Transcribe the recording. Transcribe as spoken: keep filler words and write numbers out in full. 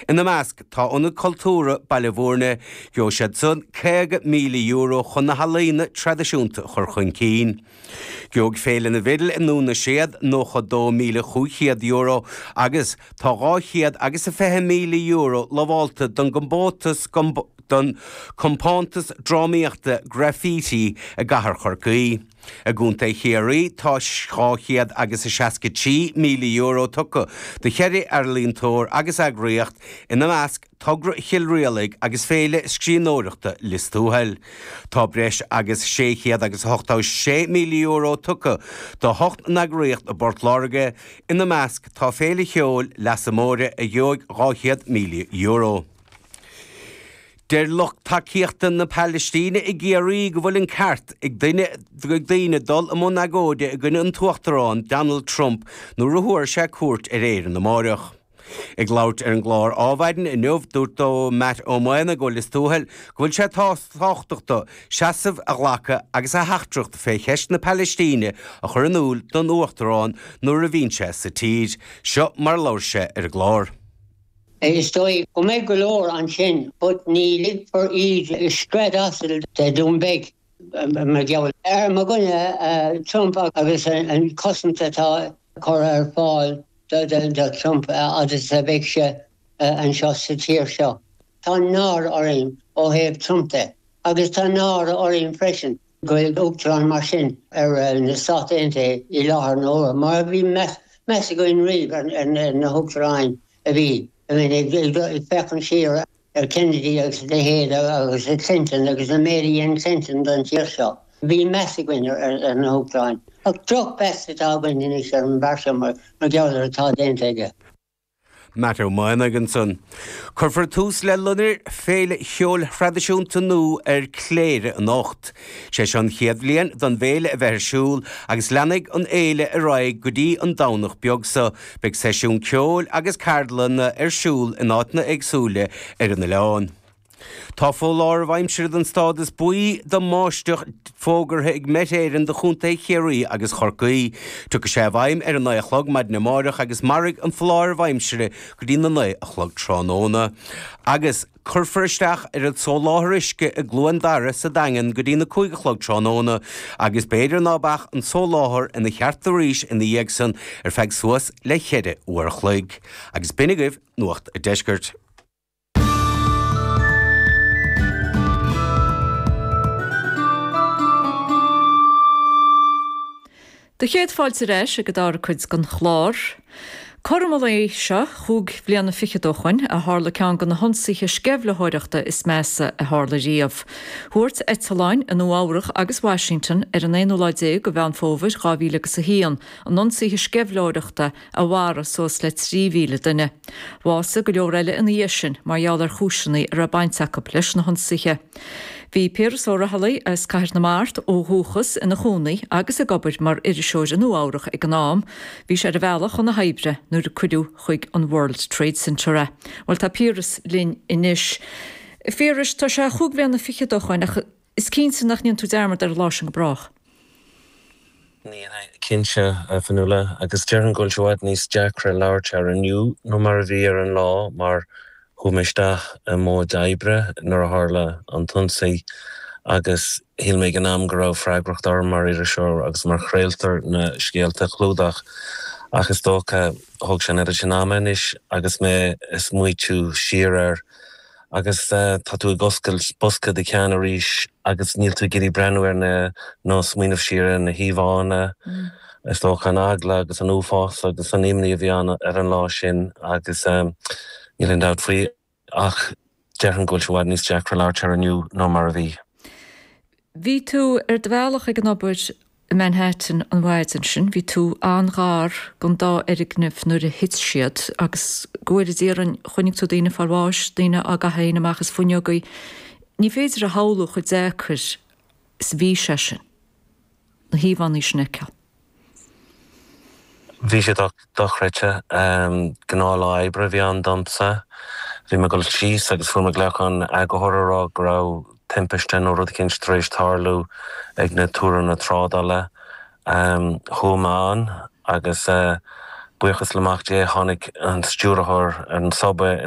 Ina measc tá Ionad Cultúrtha Baile Bhúirne, gheobhaidh siad san caoga míle euro chun na healaíona traidisiúnta a chur chun cinn. Gheobhaidh Féile na bhFidil i nDún na Séad nócha dó míle chúig chéad euro agus tá dhá chéad agus a fiche míle euro lamhálta don gcompántas don Compántas Drámaíochta Graffiti i gCathair Chorcaí. I gContae Chiarraí tá dhá chéad agus a seasca trí míle euro tugtha do cheithre ealaíontóir agus eagraíocht, ina measc Togra Chill Rialaig agus Féile Scríbhneoireachta Lios Tuathail. Tá breis agus sé chéad agus ochtó sé míle euro tugtha do hocht n-eagraíocht i bPort Láirge, ina measc tá Féile Cheoil Leasa Móire a gheobhaidh dhá chéad míle euro. Deir lucht tacaíochta na Palaistíne i gCiarraí go bhfuil an ceart ag duine ag daoine dul i mbun agóide i gcoinne an tUachtarán Donald Trump nuair a thabharfaidh sé cuairt ar Éirinn amárach. Ag labhairt ar an gclár Adhmhaidin inniu, dúirt Matt Ó Maonaigh ó Lios Tuathail go bhfuil sé tábhachtach dó seasamh a ghlacadh agus a theachtaireacht fé cheist na Palaistíne a chur in iúl don Uachtarán nuair a bhíonn sé sa tír. Seo mar a labhair sé ar an gclár. Is dóigh go mbeidh go leor ansin but ní ligfear iad scread asail de Dún Beag mar gheall ar mo dhuine Trump agus an cosaint atá curtha ar fáil do Trump agus a bheidh sé anseo sa tír seo. Tá náire orainn ó thaobh Trump de agus tá náire orainn freisin go bhfuil uachtarán mar sin ar na Stáit Aontaithe i láthair na huaire mar a bhí meas againn riamh ar na huachtaráin a bhí, I mean, ag féachaint siar ar Kennedy agus a leithéid agus Clinton agus an méid a dhein Clinton don tír seo. Bhí meas againn ar na huachtaráin. Ach drochmheas atá againn anois ar an bhfear seo mar gheall ar atá déanta aige. Matt Ó Maonaigh ansan. Cuirfear tús le Loinnir, féile cheoil thraidisiúnta nua ar Chléire anocht. Sé seo an chéad bhliain don bhféile a bheith ar siúl agus leanfaidh an fhéile ar aghaidh go dtí an Domhnach beag seo. Beidh seisiún ceoil agus ceardlanna ar siúl in áiteanna éagsúla ar an oileán. Tá foláireamh aimsire den stádas buí don mbáisteach fógartha ag Met Éireann do Chontae Chiarraí agus Chorcaí. Tiocfaidh sé i bhfeidhm ar a naoi a chlog maidin amárach agus mairfidh an foláireamh aimsire go dtí na naoi a chlog tráthnóna. Agus cuirfear isteach ar an soláthar uisce i gCluain Dara sa Daingean go dtí na cúig a chlog tráthnóna agus b'fhéidir ná beadh an soláthar ina cheart arís ina dhiaidh san ar feadh suas le ceithre uair a chloig. Agus b'in agaibh Nuacht an Deiscirt. Do chéad fáilte ar ais ag an dara cuid den chlár. Cothrom an lae seo, chúig bhliana fichead ó shoin, a tharla ceann de na hionsaithe sceimhlitheoireachta is measa a tharla riamh. Thuairt eitleáin i Nua Eabhrac agus Washington ar an aonú lá déag de Mheán Fómhair dhá mhíle agus a haon an ionsaithe sceimhlitheoireachta a mharaigh suas le trí mhíle duine. Bhásaigh go leor eile ina dhiaidh sin mar gheall ar chúiseanna a raibh baint acu leis na hionsaithe. Bhí Piaras Ó Raghallaigh as Cathair na Mart ó dhúchas ina chónaí agus ag obair mar iriseoir i Nua Eabhrac ag an am. Bhí sé ar a bhealach chun na hoibre nuair a cuireadh chuig an World Trade Center é. Bhuel tá Piaras linn anois. A Phiarais, tá sé chúig bhliana fichead ó shoin ach is cinnte nach ndéanfaidh tú dearmad ar an lá sin go brách. Ní dhéanfainn, cinnte, a Fionnuala, agus déarfainn go bhfuil sé i bhfad níos deacra labhairt air inniu ná mar a bhí ar an lá mar Chuaigh mé isteach i móid oibre nuair a tharla an t-ionsaí agus shíl mé ag an am go raibh freagracht orm mar iriseoir agus mar chraoltóir na scéalta a chlúdach ach is dócha thóg sé an oiread sin ama anois agus mé ag smaoitiú siar air agus tá tú ag oscailt bosca do cheann arís agus níl tú ag iarraidh breathnú ar na nó smaoineamh siar ar na híomhánna, is dócha an eagla agus an uafás agus an imní a bhí ann ar an lá sin agus níl aon dabht faoi ach déarfainn go bhfuil sé i bhfad níos deacra labhairt air inniu ná mar a bhí. Bhí tú ar do bhealach ag an obair i Manhattan an mhaidin sin. Bhí tú an-ghar don dá fhoirgneamh nuair a thit siad agus go bhfóire Dia orainn chonaic tú daoine ag fáil bháis, daoine á gcaitheamh féin amach as fuinneogaí. Ní féidir a shamhlú chomh deacair is a bhí sé sin, na híomhánna sin a fheiceáil. Bhí sé dochreidte. Gnáthlá oibre a bhí ann domsa. Bhí mé ag dul síos agus fuair mé glaoch ón eagarthóir ag rá go raibh timpiste nó rud eicínt tar éis tarlú ag na túranna trádála. Chuaigh mé ann agus Buíochas le Mac Dé tháinig an stiúrthóir an Subway in